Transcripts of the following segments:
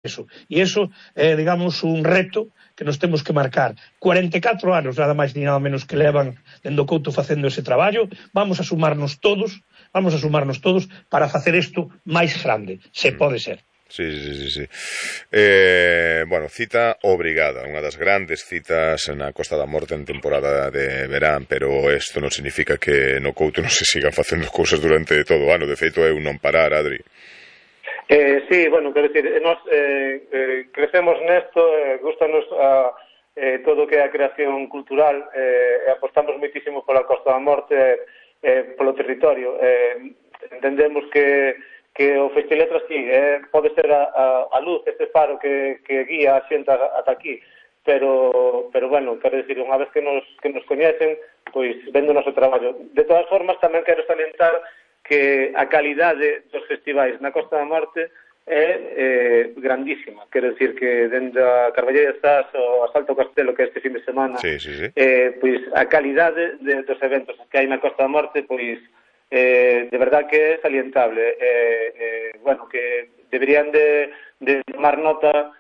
eso. E iso é, digamos, un reto que nos temos que marcar. 44 anos, nada máis ni nada menos que levan dende o Couto facendo ese traballo. Vamos a sumarnos todos para facer isto máis grande, se pode ser. Sí. Bueno, cita obrigada, unha das grandes citas na Costa da Morte en temporada de verán, pero isto non significa que no Couto non se sigan facendo cousas durante todo o ano. De feito é un non parar, Adri. Sí, bueno, quero dicir, nós crecemos nesto, gustanos todo o que é a creación cultural, apostamos moitísimo pola Costa da Morte, polo territorio. Entendemos que o Festiletras, sí, pode ser a luz, este faro que guía a xente ata aquí, pero bueno, quero dicir, unha vez que nos coñecen, pois vendo o noso traballo. De todas formas, tamén quero salientar que a calidade dos festivais na Costa da Morte é grandísima. Quero dicir que dende a Carballeira de Zas ou a Salto Castelo, que é este fin de semana, pois a calidade dos eventos que hai na Costa da Morte, pois de verdad que é salientable. Bueno, que deberían de tomar nota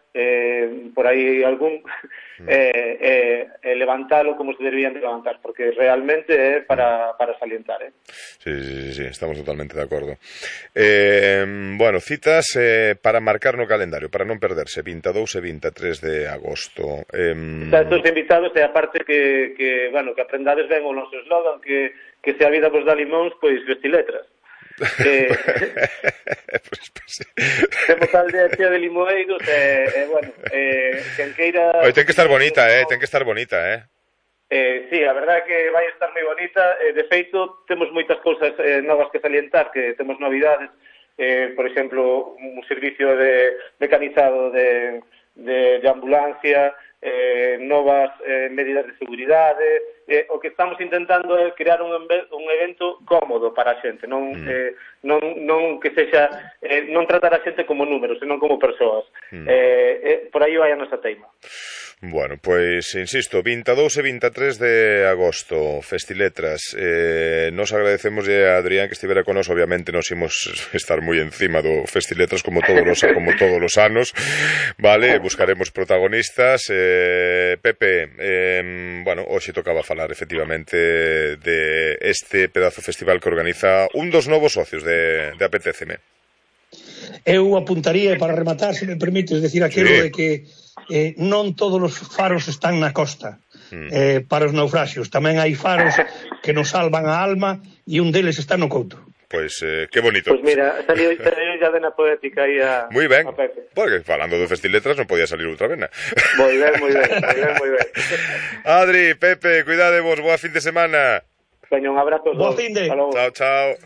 por aí algún levantalo como se deberían de levantar, porque realmente é para salientar. Sí, estamos totalmente de acordo. Bueno, citas para marcar no calendario, para non perderse, 22 e 23 de agosto. Estos invitados, e aparte que aprendades ben o noso eslogan, que se a vida vos dá limóns, pois Festiletras. Temos a aldea chea de limoeiros, bueno, quen queira... Ten que estar bonita, ten que estar bonita, Sí, a verdade é que vai estar moi bonita. De feito, temos moitas cousas novas que salientar, que temos novidades, por exemplo, un servicio de mecanizado de ambulancia, novas medidas de seguridade. O que estamos intentando é crear un evento cómodo para a xente, non que sexa, non tratar a xente como números, senón como persoas. Por aí vai a nosa teima. Bueno, pois, insisto, 22 e 23 de agosto, Festiletras. Nos agradecemos a Adrián que estivera con nos. Obviamente nos imos estar moi encima do Festiletras como todos os anos, vale? Buscaremos protagonistas. Pepe, bueno, hoxe tocaba falar efectivamente de este pedazo festival que organiza un dos novos socios de Apetéceme. Eu apuntaría, para rematar, se me permites, decir aquilo de que non todos os faros están na costa para os naufraxios. Tamén hai faros que nos salvan a alma e un deles está no Couto. Pois, que bonito. Pois mira, saliu ya de na poética aí a Moi ben, porque falando do Festiletras non podía salir outra vena. Moi ben. Adri, Pepe, cuidadevos, boa fin de semana. Veña, un abrazo. Boa fin de. Chao.